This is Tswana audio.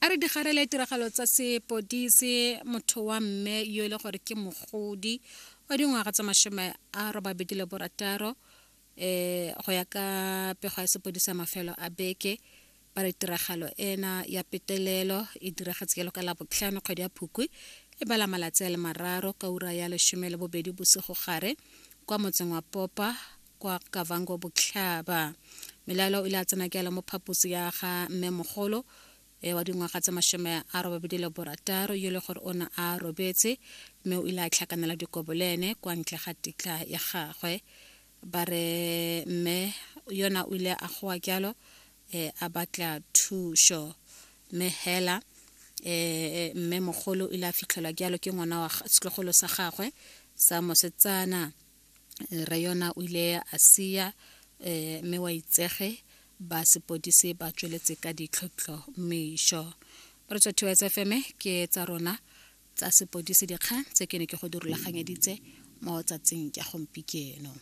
A re digarele tiragalo tsa sepodisi motho wa mme yo e le gore ke mogodi wa dingwaga tsa 86 go ya ka pego ya sepodisi ya mafelo a beke ba re tiragalo ena ya petelelo e diragetse jalo ka Labotlhano kgwedi ya Phukwi e bala malatsi a le 3 ka ura ya 12 bosigo gare kwa motseng wa Popa kwa Kavango Botlhaba. Melaelo o ile a tsena jalo mo phaposi ya ga mme mogolo e wa dingwaga tse 86 yo le gore o ne a robetse mme o ile a tlhakanela dikobo le ene kwa ntle ga tetla ya gagwe. Ba re mme yona o ile a goa jalo a batla thušo mme hela mme mogolo o ile a fitlhelwa jalo ke ngwana wa setlogolo sa gagwe sa mosetsana. Re yona o ile a sia mme wa itsege ba sepodisi ba tsweletse ka ditlhotlhomišo. Re tswa TOS FM ke tsa rona tsa sepodisi dikgang tse ke ne ke go di rulaganyeditse mo tsatsing ya gompieno.